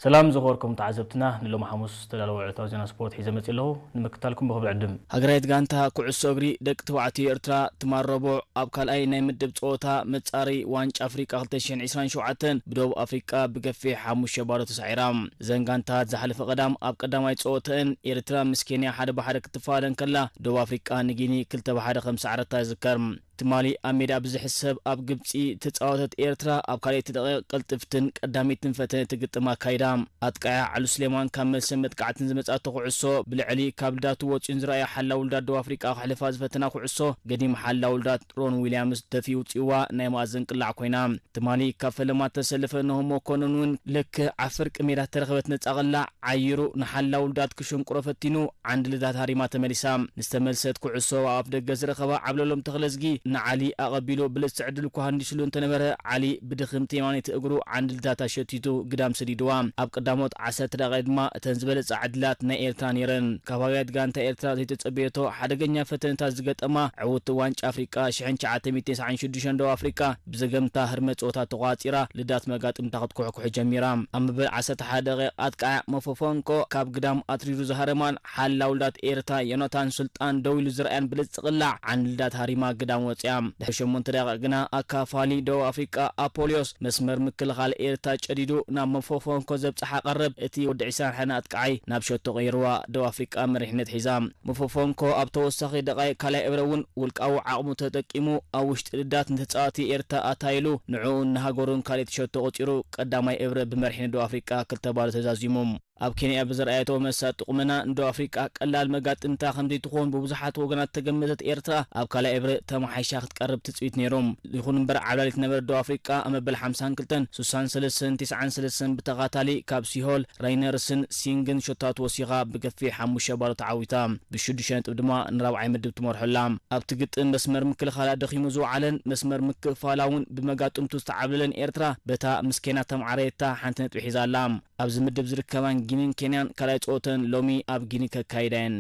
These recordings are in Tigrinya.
ሰላም ዝኸበርኩም ተዓዘብትና፣ ንሎሚ ሓሙስ ዝተዳለወ ዕለታዊ ዜና ስፖርት ሒዘ መጺእ ኣለኹ። ንምክታልኩም ብኽብሪ ዕድም። ሃገራዊት ጋንታ ኩዕሶ እግሪ ደቂ ተባዕትዮ ኤርትራ ትማል ረቡዕ ኣብ ካልኣይ ናይ ምድብ ጸወታ መጻሪ ዋንጫ ኣፍሪቃ ክልተ ሽሕን ዕስራን ሸውዓተን ብደቡብ ኣፍሪቃ ብገፊሕ ሓሙሽተ ባዶ ተሳዒራ። እዘን ጋንታት ዝሓለፈ ቀዳም ኣብ ቀዳማይ ጸወተአን ኤርትራ ምስ ኬንያ ሓደ ብሓደ ክትፋለ እንከላ፣ ደቡብ ኣፍሪቃ ንጊኒ ክልተ ብሓደ ከም ሰዓረታ ይዝከር። ትማሊ ኣብ ሜዳ ብዝሕሰብ ኣብ ግብጺ ተጻወተት ኤርትራ፣ ኣብ ካልኣይቲ ደቂቕ ቅልጥፍትን ቀዳሚትን ፈተነ ትግጥም ኣካይዳ። ኣጥቃያ ዓሉ ስሌማን ካብ መልሰን መጥቃዕትን ዝመጻቶ ኩዕሶ ብልዕሊ ካብ ልዳቱ ወጺኡን ዝረኣየ ሓላው ልዳት ደቡብ ኣፍሪቃ ክሕልፋ ዝፈተና ኩዕሶ ገዲም ሓላው ልዳት ሮን ዊልያምስ ደፊኡ ውጽእዋ ናይ መኣዘን ቅላዕ ኮይና። ትማሊ ካብ ፈለማ ተሰልፈ ነሆ መኮንን እውን ልክዕ ኣብ ፍርቂ ሜዳ ተረኸበት ነጻ ቅላዕ ዓይሩ ንሓላው ልዳት ክሽንቁሮ ፈቲኑ ዓንዲ ልዳት ሃሪማ ተመሊሳ። ንዝተመልሰት ኩዕሶ ኣብ ኣፍ ደገ ዝረኸባ ዓብለሎም ተኽለዝጊ ንዓሊ ኣቐቢሉ ብልጽቲ ዕድል እኳ ሃንዲስሉ እንተነበረ፣ ዓሊ ብድኽምቲ የማነይቲ እግሩ ዓንዲ ልዳት ኣሸቲቱ ግዳም ሰዲድዋ። ኣብ ቀዳሞት ዓሰርተ ደቂቕ ድማ እተን ዝበለጻ ዕድላት ናይ ኤርትራ ነይረን። ካብ ሃገራዊት ጋንታ ኤርትራ ዘይተጸበየቶ ሓደገኛ ፈተነታት ዝገጠማ ዕውቲ ዋንጫ ኣፍሪቃ ሽሕን ትሽዓተ ሚእትን ተስዓን ሽዱሽተን ደቡብ ኣፍሪቃ ብዘገምታ ህርመት ጸወታ ተቋጺራ ልዳት መጋጥምታ ክትኩሕኩሕ ጀሚራ። ኣብ መበል ዓሰርተ ሓደ ደቂቕ ኣጥቃዕ ሞፎፎንኮ ካብ ግዳም ኣትሪሩ ዝሃረማን ሓላው ልዳት ኤርትራ ዮናታን ሱልጣን ደው ኢሉ ዝረኣያን ብልጽቲ ቅላዕ ዓንዲ ልዳት ሃሪማ ግዳም ወጽያ። ድሕሪ ሸሞንተ ደቂቕ ግና ኣካፋሊ ደቡብ ኣፍሪቃ ኣፖልዮስ መስመር ምክልኻል ኤርትራ ጨዲዱ ናብ ሞፎፎንኮ ዘብጽሓ ቀረብ እቲ ወዲ ዕስራን ሓደን ኣጥቃዓይ ናብ ሸቶ ቀይርዋ ደቡብ ኣፍሪቃ መሪሕነት ሒዛ። ሞፎፎንኮ ኣብ ተወሳኺ ደቃይቅ ካልኣይ እብረ እውን ውልቃዊ ዓቕሙ ተጠቂሙ ኣብ ውሽጢ ልዳት ንተጻዋቲ ኤርትራ ኣታይሉ ንዕኡን ንሃገሩን ካልኣይቲ ሸቶ ቆጺሩ ቀዳማይ እብረ ብመሪሕነት ደቡብ ኣፍሪቃ ክልተ ባዶ ተዛዚሙ። ኣብ ኬንያ ብዝረኣየቶ መሳጢ ቁመና ንደቡብ ኣፍሪቃ ቀላል መጋጥምታ ከም ዘይትኾን ብብዙሓት ወገናት ተገመተት ኤርትራ ኣብ ካልኣይ እብረ ተመሓይሻ ክትቀርብ ትጽቢት ነይሩ። ይኹን እምበር ዓብላሊት ነበረ ደቡብ ኣፍሪቃ ኣብ መበል ሓምሳን ክልተን፣ ሱሳን ሰለስተን፣ ቲስዓን ሰለስተን ብተኻታሊ ካብ ሲሆል ራይነርስን ሲንግን ሸቶታት ወሲኻ ብገፊሕ ሓሙሽተ ባዶ ተዓዊታ። ብሽዱሽተ ነጥቢ ድማ ንራብዓይ ምድብ ትመርሖ ኣላ። ኣብቲ ግጥም መስመር ምክልኻላ ደኺሙ ዝወዓለን መስመር ምክፋላ እውን ብመጋጥምቱ ዝተዓብለለን ኤርትራ በታ ምስ ኬንያ ተማዕረየታ ሓንቲ ነጥቢ ሒዛ ኣላ። ኣብዚ ምድብ ዝርከባን ጊኒን ኬንያን ካልኣይ ጸወተን ሎሚ ኣብ ጊኒ ከካይዳ እየን።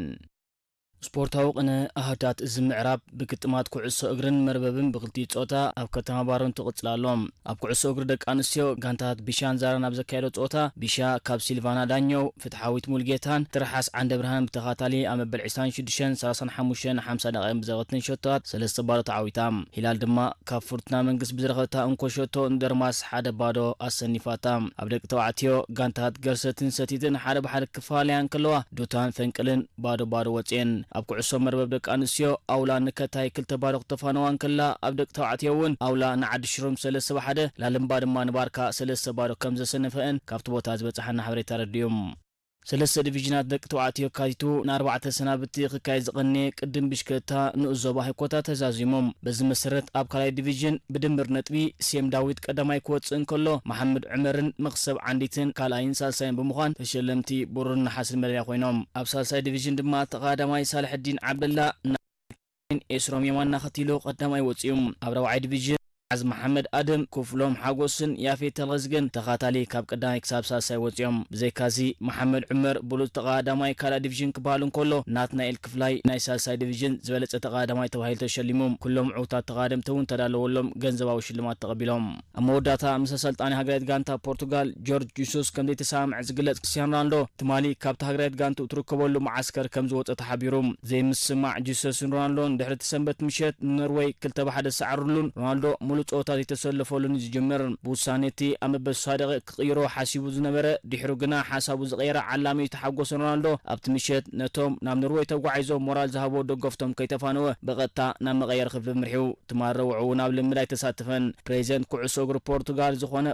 ስፖርታዊ ቅነ ኣሃዱታት እዚ ምዕራብ ብግጥማት ኩዕሶ እግርን መርበብን ብክልቲኡ ጾታ ኣብ ከተማ ባሮ እንትቕጽል ኣሎ። ኣብ ኩዕሶ እግሪ ደቂ ኣንስትዮ ጋንታታት ቢሻን ዛራን ኣብ ዘካየዶ ጸወታ ቢሻ ካብ ሲልቫና ዳኘው፣ ፍትሓዊት ሙልጌታን ትርሓስ ዓንደ ብርሃንን ብተኻታሊ ኣብ መበል ዕስራን ሽዱሽተን፣ ሰላሳን ሓሙሽተን፣ ሓምሳ ደቂቕን ብዘበትን ሸቶታት ሰለስተ ባዶ ተዓዊታ። ሂላል ድማ ካብ ፍርቱና መንግስት ብዝረኸበታ እንኮ ሸቶ ንደርማስ ሓደ ባዶ ኣሰኒፋታ። ኣብ ደቂ ተባዕትዮ ጋንታታት ገርሰትን ሰቲትን ሓደ ብሓደ ክፋለያ እንከለዋ ዱታን ፈንቅልን ባዶ ባዶ ወጽኤን። ኣብ ኩዕሶ መርበብ ደቂ ኣንስትዮ ኣውላ ንከታይ ክልተ ባዶ ክተፋነዋ እንከላ፣ ኣብ ደቂ ተባዕትዮ እውን ኣውላ ንዓዲ ሽሩም ሰለስተ ብሓደ፣ ላልምባ ድማ ንባርካ ሰለስተ ባዶ ከም ዘሰነፈአን ካብቲ ቦታ ዝበጽሓና ሓበሬታ ኣረዲኡ። ሰለስተ ዲቪዥናት ደቂ ተባዕትዮ ኣካቲቱ ንኣርባዕተ ሰናብቲ ክካየድ ዝቐነየ ቅድም ብሽክለታ ንኡስ ዞባ ህኮታ ተዛዚሙ። በዚ መሰረት ኣብ ካልኣይ ዲቪዥን ብድምር ነጥቢ ሴም ዳዊት ቀዳማይ ክወጽእ እንከሎ፣ መሓመድ ዑመርን መኽሰብ ዓንዲትን ካልኣይን ሳልሳይን ብምዃን ተሸለምቲ ብሩርን ነሓስን መዳልያ ኮይኖም። ኣብ ሳልሳይ ዲቪዥን ድማ ተቐዳማይ ሳልሕዲን ዓብደላ ናይን ኤስሮም የማን ኣኸቲሉ ቀዳማይ ወጺኡ። ኣብ ራብዓይ ዲቪዥን ዓዝ መሓመድ ኣደም፣ ክፍሎም ሓጎስን ያፌት ተልኸዝገን ተኻታሊ ካብ ቀዳማይ ክሳብ ሳልሳይ ወጺኦም። ብዘይካዚ መሓመድ ዑመር ብሉጽ ተቐዳማይ ካልኣይ ዲቪዥን ክበሃል እንከሎ፣ ናትናኤል ክፍላይ ናይ ሳልሳይ ዲቪዥን ዝበለጸ ተቐዳማይ ተባሂሉ ተሸሊሙ። ኩሎም ዕውታት ተቐዳደምቲ እውን ተዳለወሎም ገንዘባዊ ሽልማት ተቐቢሎም። ኣብ መወዳእታ ምስ ኣሰልጣኒ ሃገራዊት ጋንታ ፖርቱጋል ጆርጅ ጂሱስ ከም ዘይተሰማምዐ ዝግለጽ ክርስቲያኖ ሮናልዶ፣ ትማሊ ካብቲ ሃገራዊት ጋንትኡ ትርከበሉ መዓስከር ከም ዝወጸ ተሓቢሩ። ዘይምስማዕ ጂሰስን ሮናልዶን ድሕሪ እቲ ሰንበት ምሸት ንኖርወይ ክልተ ብሓደ ዝሰዓርሉን ሮናልዶ ሙሉእ ጸወታ ዘይተሰለፈሉን እዩ ዝጅምር። ብውሳነ እቲ ኣብ መበል ስሳ ደቂቕ ክቕይሮ ሓሲቡ ዝነበረ፣ ድሕሩ ግና ሓሳቡ ዝቐየረ ዓላሚ ዝተሓጎሰ ሮናልዶ፣ ኣብቲ ምሸት ነቶም ናብ ኖርወይ ተጓዒዞም ሞራል ዝሃብዎ ደገፍቶም ከይተፋነወ ብቐጥታ ናብ መቐየሪ ክፍሊ ኣምሪሑ። ትማል ረቡዕ እውን ኣብ ልምድ ኣይተሳተፈን። ፕሬዚደንት ኩዕሶ እግሪ ፖርቱጋል ዝኾነ